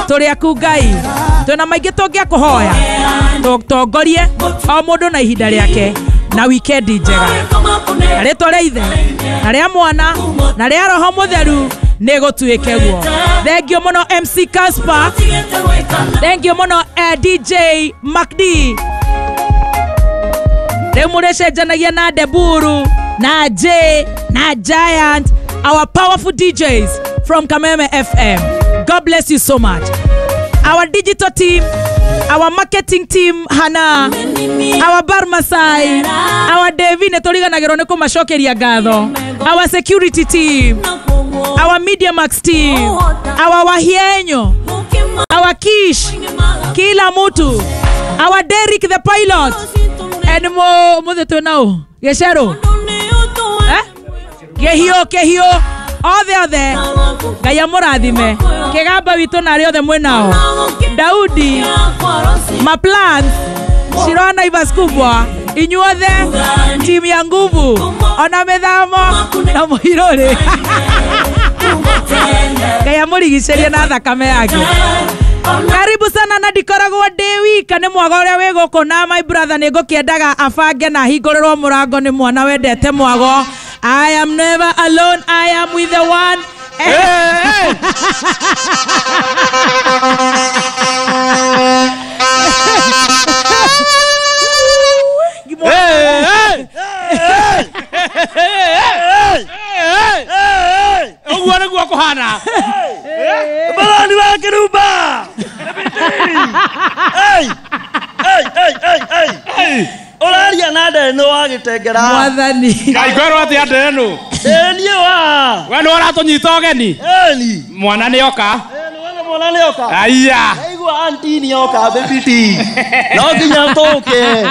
Tũrĩ aku Ngai. Twĩna maingĩ tũngĩakũhoya. Tũtongorie o mũndũ na ihinda rĩake na wikendi njega. Na rĩtwa rĩa Ithe na rĩa Mwana na rĩa Roho Mũtheru nĩ gũtuĩke guo. Thank you mũno MC Casper. Thank you mũno DJ MacD. Rĩu mũrĩcenjanagia na Deburu na J na Giant, our powerful DJs from Kameme FM. God bless you so much. Our digital team, our marketing team, Hana, our Bar Masai, our Devi nĩ tũriganagĩrwo nĩ kũmacokeria ngatho, our security team, our Media Max team, our Wahienyo, our Kish, kila mtu, our Derek the pilot, and mo muthe twĩnao Gĩcerũ, eh? Kĩhio kĩhio othe othe Ngai amũrathime. Kĩgamba witũ na arĩa othe mwĩnao, Daudi, Maplans, Shirona Naivas kubwa, inyuothe timu ya nguvu, ona mĩthamo na mũirũrĩ. Ngai amũrigicĩrie na thakame yake. Karibu sana na ndikoragwo ndĩ wika nĩ mwago ũrĩa wĩ gũkũ na my brother nĩ ngũkĩendaga abange na ahingũrĩrwo mũrango nĩ mwana wendete mwago. I am never alone, I am with the one. Hey, hey. Hey, hey, hey, hey. Ũguo nĩguo kũhana. Barani wa Kĩrumba. Hey, hey, hey, hey, hey. Ũraria na Ndeno wa Gĩtengera. Mwathani. Ngai ngwerwo atĩa Ndeno? Ĩĩ niĩ wa. We nĩ ũratũnyita ũgeni? Ĩni. Mwana nĩ oka. Ĩĩ nĩ mwana nĩ oka. Aya. Ndaigua auntie nĩ oka baby T. No nginya tũke.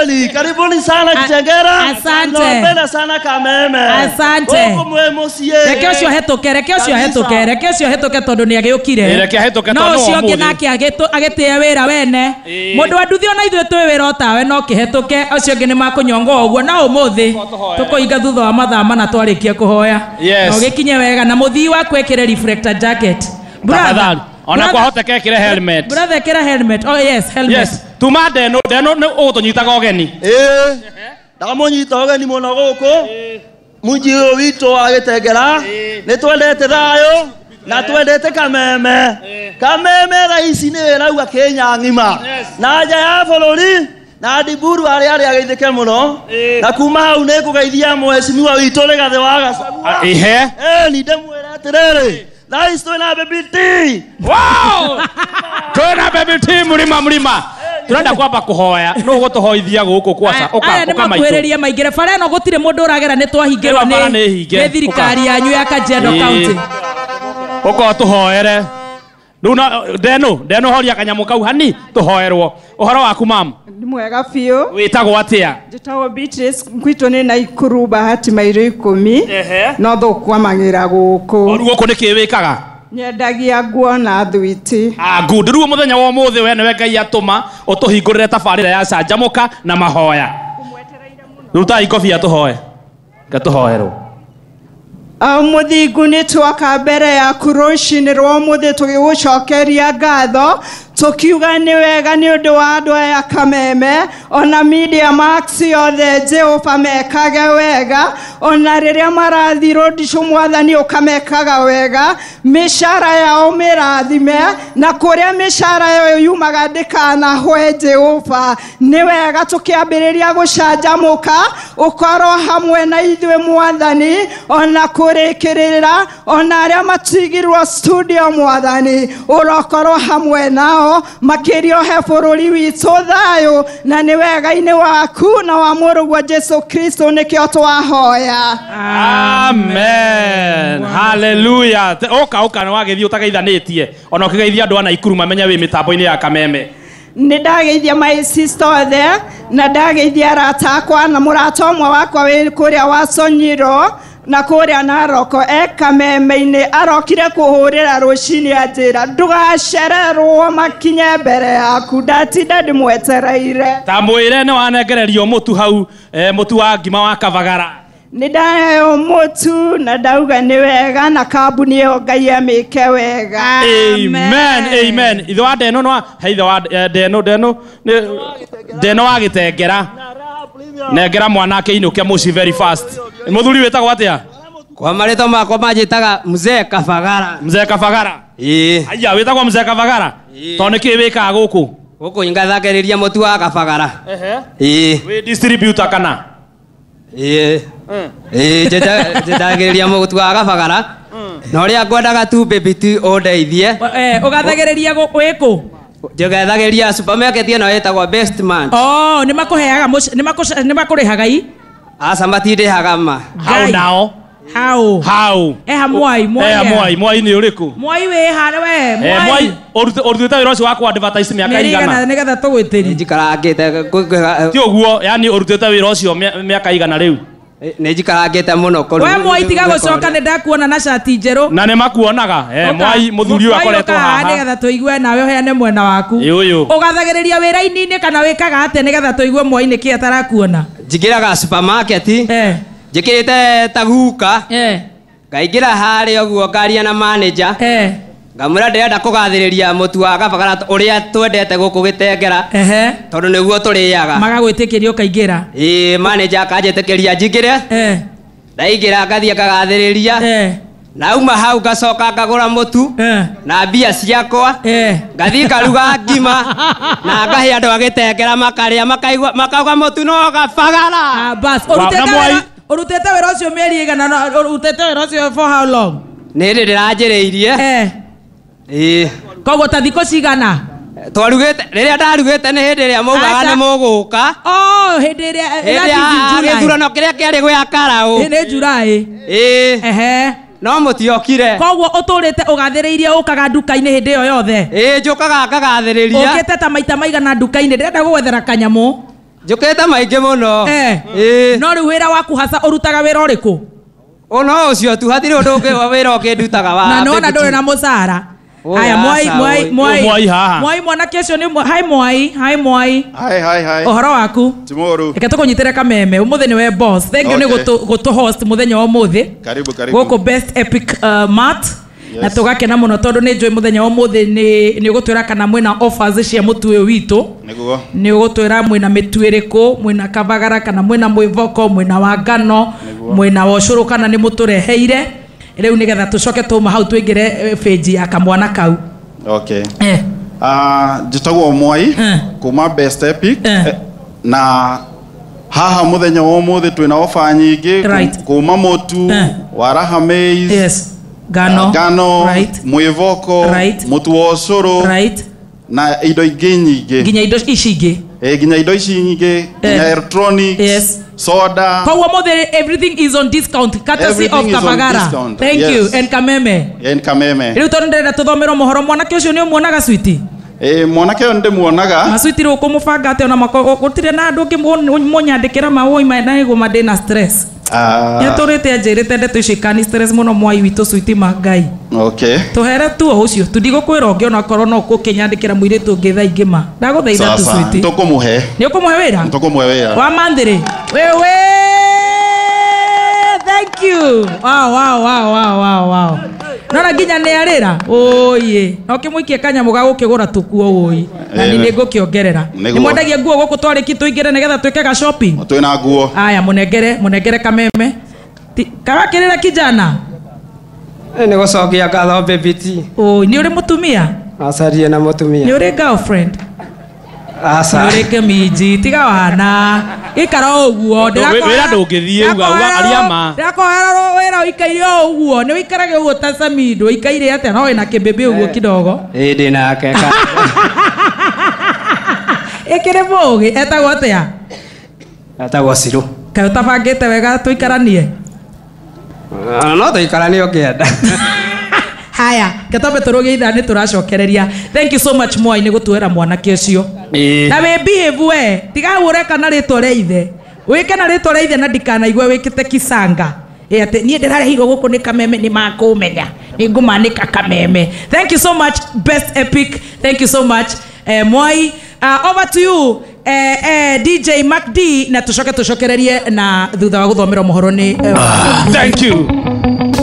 Ĩni, karibuni sana Kitengera. Asante. Tunawapenda sana Kameme. Asante. Gũkũ mwĩ mũciĩ. Reke ũcio hetũke, reke ũcio hetũke, reke ũcio hetũke tondũ nĩ agĩũkire. Reke ahĩtũke No tondũ no ũcio ũngĩ ũmũthĩ. nake agĩtĩe wĩra wene. Mũndũ wa nduthi ona ithuĩ twĩ wĩra o tawe no kĩhetũke, ũcio ũngĩ nĩ makũnyongo ũguo no ũmũthĩ tũkũhinga thutha wa mathaa mana twarĩkia kũhoya. Yes. Na ũgĩkinye wega na mũthii waku ekĩre reflector jacket. Tafadhali. Ona kwahoteka ekĩre helmet. Brother, ekĩra helmet. Oh yes, helmet. Yes. Tuma Ndeno, Ndeno nĩ ũgũtũnyitaga ũgeni. Ĩĩ. Ndamũnyita ũgeni mũno gũkũ. Mũciĩ ũyũ witũ wa Gĩtengera. Nĩ twendete thayũ na twendete Kameme. Kameme thaa ici nĩ ĩrauga Kenya ng'ima. Na nja ya bũrũri na Ndiburu arĩa arĩa ageithĩke mũno. Na kuma hau nĩ ngũgeithia mheshimiwa witũ Rigathĩ wa Gachagua. Ihe. Ĩĩ ndĩmwĩre atĩrĩrĩ, thaa ici twĩna Baby T. Wow! Twĩna Baby T mũrima mũrima. Turenda kwamba kũhoya nũ ũgũtũhoithia gũkũ kwaca ũka Aya nĩ ũka maitũ. makuhĩrĩrie maingĩre bara ĩno gũtirĩ mũndũ ũragera nĩ twahingĩrwo Ĩno bara nĩ hinge. nĩ thirikari yanyu ya Kajiado County. Ũka ũtũhoere. Rĩu na Ndeno, Ndeno horia kanyamũ kau hani tũhoerwo. Ũhoro waku mam? Nĩ mwega biũ. Wĩtagwo atĩa? Njĩtagwo Beatrice, gwitũ nĩ Naikuru Bahati mairo 10. No thũkwamagĩra gũkũ. Rĩu gũkũ nĩkĩ wĩkaga? Nyendagia nguo na thwiti. Ah, good. Rĩu mũthenya wa ũmũthĩ we nĩwe Ngai atũma ũtũhingũrĩre tabarĩra ya canjamũka na mahoya. Rutai ngobia tũhoe. Ngatũhoerwo. Mũthingu nĩ twoka mbere yaku rũcinĩ rwa ũmũthĩ tũgĩgũcokeria ngatho tũkiuga nĩ wega nĩ ũndũ wa andũ aya Kameme ona Media Max yothe Jehova mekage wega ona rĩrĩa marathiĩ rũndicũ mwathani ũkamekaga wega mĩcara yao mĩrathime na kũrĩa mĩcara yao yumaga ndĩkanahwe Jehova nĩ wega tũkĩambĩrĩria gũcanjamũka ũkorwo hamwe na ithuĩ mwathani ona kũrĩkĩrĩra ona arĩa matigirwo studio mwathani ũrokorwo hamwe nao makĩria ũhe bũrũri witũ thayũ na nĩ wega-inĩ waku na wa mũrũguo Jesu Kristo nĩkĩo twahoya. Amen. Hallelujah. Ũka ũka nĩ wagĩthiĩ ũtageithanĩtie ona ũkĩgeithia andũ a Naikuru mamenye wĩ mĩtambo-inĩ ya Kameme. Nĩ ndageithia my sister othe na ndageithia arata akwa na mũrata ũmwe wakwa wĩ kũrĩa wa Sonyiro na kũrĩa Naroko e Kameme-inĩ arokire kũhũrĩra rũcinĩ anjĩra ndũgacererwo makinye mbere yaku ndatinda ndĩmwetereire. Ta mwĩre nĩ wanengererio mũtu hau, mũtu wa ngima wa Kavagara. Nĩ ndaheo mũtu na ndauga nĩ wega na kambuni ĩyo Ngai amĩke wega. Amen, amen. Ithe wa Ndeno no he ithe wa Ndeno Ndeno Ndeno wa Gĩtengera. Nengera mwanake inũke mũciĩ very fast. Mũthuri wĩtagwo atĩa? Kwa marĩtwa makwa manjĩtaga Mzee Kabagara. Mzee Kabagara. Ĩĩ. Aya wĩtagwo Mzee Kabagara. Tondũ nĩkĩ wĩkaga gũkũ? Gũkũ ngathagĩrĩria mũtu wa Kabagara. Ehe. Ĩĩ. Wĩ distributor kana? Ĩĩ. Ĩĩ njendagĩrĩria mũtu wa Kabagara. Na ũrĩa ngwendaga tu baby tu ũndeithie. Ũgathagĩrĩria wĩkũ? Njgathagĩrĩria supermarket ĩno ĩtagwo Best Man. Oh, nĩmakũheaga nĩmakũrĩhaga i? Aca matindĩhaga ma. How now? How? How? Eha Mwai, Mwai. Eha Mwai, Mwai nĩ ũrĩkũ? Mwai wĩ ha we? Mwai ũrutĩte wĩra ũcio wa kũ advertise mĩaka igana? Nĩgetha tũgwĩtĩrie. Njikarangĩte. Ti ũguo, yani ũrutĩte wĩra ũcio mĩaka igana rĩu? Nĩ njikarangĩte mũno. We Mwai tiga gũcoka nĩ ndakuona na cati njerũ. Na nĩ makuonaga. Mwai mũthuri ũyũ akoretwo haha. Nĩgetha tũigue nawe ũheane mwena waku. Ũyũ. Ũgathagĩrĩria wĩra-inĩ kana wĩkaga atĩa nĩgetha tũigue Mwai nĩkĩ atarakuona? Njingĩraga supermarket. Njĩkĩrĩte ta guka. Ngaingĩra harĩa ũguo ngaria na manager. Ngamwĩra ndĩrenda kũgathĩrĩria mũtu wa Kabagara ũrĩa twendete gũkũ Gĩtengera. Tondũ nĩguo tũrĩaga. Magagwĩtĩkĩria ũkaingĩra. Ĩĩ manager akanjĩtĩkĩria njingĩre. Ndaingĩra ngathiĩ ngagathĩrĩria. Nauma hau ngacoka ngagũra mũtu na mbia ciakwa. Ngathiĩ ngaruga ngima na ngahe andũ a Gĩtengera makarĩa makaigua makauga mũtu no Kabagara. Bas ũrutĩte wĩra ũcio mĩeri ĩigana ũrutĩte wĩra ũcio for how long? Nĩ hĩndĩ ndĩranjĩrĩirie. Ĩĩ. Koguo ta thikũ cigana? Twarugĩte rĩrĩa ndarugĩte nĩ hĩndĩ ĩrĩa maugaga nĩ mũgũka. Oh, hĩndĩ ĩrĩa gĩthurano kĩrĩa kĩarĩ gĩa Karaũ. Nĩ July. Ĩĩ. Ehe. No mũtiokire. Koguo ũtũrĩte ũgathĩrĩirie ũkaga nduka-inĩ hĩndĩ ĩyo yothe? Ĩĩ njũkaga ngagathĩrĩria. Ũkĩte ta maita maigana nduka-inĩ? Ndĩrenda gũgwethera kanyamũ. Njũkĩte maingĩ mũno. Ĩĩ. No rĩu wĩra waku hasa ũrutaga wĩra ũrĩkũ? No ũcio tu hatirĩ ũndũ ũngĩ wa wĩra ũngĩ ndutaga wa. Na nona ndũrĩ na mũcara. Aya Mwai Mwai Mwai Mwai haha. Mwai mwanake ũcio nĩ hi Mwai, hi Mwai. Hi hi hi. Ũhoro waku? Tomorrow. Reke tũkũnyitĩre kameme. Ũmũthĩ nĩwe boss. Thank you nĩ gũtũ host mũthenya wa ũmũthĩ. Karibu karibu. Gũkũ Best Epic Mart. Na tũgakena mũno tondũ nĩ njũĩ mũthenya wa ũmũthĩ nĩ ũgũtwĩra kana mwĩna offers cia mũtu ũyũ witũ. Nĩguo. Nĩ ũgũtwĩra mwĩna mĩtu ĩrĩkũ, mwĩna Kabagara kana mwĩna mwĩvoko, mwĩna wa ngano, mwĩna wa ũcũrũ kana nĩ mũtũreheire. Rĩu nĩgetha tũcoke tũma hau tũingĩre page ya kamwana kau. Okay. Njĩtagwo Mwai kuma Best Epic na haha mũthenya wa ũmũthĩ twĩna ofa nyingĩ kuma mũtu wa Raha Maize. Yes. Ngano, ngano, right. Mwĩvoko, right. Mũtu wa ũcũrũ, right. Na indo ingĩ nyingĩ. Nginya indo ici ingĩ. Nginya indo ici nyingĩ, nginya electronics, yes. Soda. Koguo mũthĩ everything is on discount courtesy of Kabagara. Thank yes. you and Kameme. And Kameme. Rĩu tondũ ndĩrenda tũthomerwo mohoro mwanake ũcio nĩ ũmuonaga switi? Mwanake ũyũ ndĩmuonaga. Maswiti rĩu ũkũmũbanga atĩa ona gũtirĩ na andũ ũngĩ mũnyandĩkĩra mawũi na igũma ndĩna stress. Nĩatũrĩte anjĩrĩte ndeto icio ikani stress mũno Mwai witũ switi ma Ngai. Okay. Tũhere tu o ũcio tu ndigũkwĩra ũngĩ onakorwo no ũkũkĩnyandĩkĩra mũirĩtu ũngĩ thaa ingĩ ma. Ndagũthaitha tu switi. Tũkũmũhe. Nĩ ũkũmũhe wĩra? Tũkũmũhe wĩra. Wa manthĩrĩ. Wewe. Thank you. Wow wow wow wow wow wow. Nona nginya nĩ arĩra. Ũũĩ. Na ũkĩmũikie kanyamũ ga gũkĩgũra tũkuo ũũĩ. Na nĩ ngũkĩongerera. Nĩ mwendagia nguo gũkũ twarĩki tũingĩre nĩgetha twĩke ga shopping. Twĩna nguo. Aya mũnengere kameme. Karakĩrĩra kijana. Nĩ gũcokia ngatho baby T. Ũũĩ, nĩ ũrĩ mũtumia? Acarie na mũtumia. Nĩ ũrĩ girlfriend? Aca. Nĩ ũrĩ kĩminji, tiga wana. Ikara ũguo. Wĩra ndũngĩthiĩ uga aria ma. Ndĩrakohera wĩra ũikaire o ũguo. Nĩ ũikarage ũguo ta Samido, ũikaire atĩa no wĩna kĩmbĩmbĩ ũguo kidogo. Ĩĩ ndĩ nake. Ĩkĩrĩ mũũgĩ, etagwo atĩa? Etagwo Cirũ. Kaĩ ũtabangĩte wega tũikaranie? No tũikaranie ũkĩenda. Haya, ketombe tũrũgie ithaa nĩ tũracokereria. Thank you so much Mwai nĩ gũtuoera mwanake ũcio. Na wĩ behave we, tiga hau ũreka na rĩtwa rĩa ithe. Wĩke na rĩtwa rĩa ithe na ndikanaigwe wĩkĩte kisanga. Atĩ niĩ ndĩrarehirwo gũkũ nĩ Kameme nĩ makũmenya. Nĩ ngũmanĩka Kameme. Thank you so much Best Epic. Thank you so much Mwai. Over to you DJ Mac D na tucoke tucokererie na thutha wa guthomerwo mohoro ni Thank you.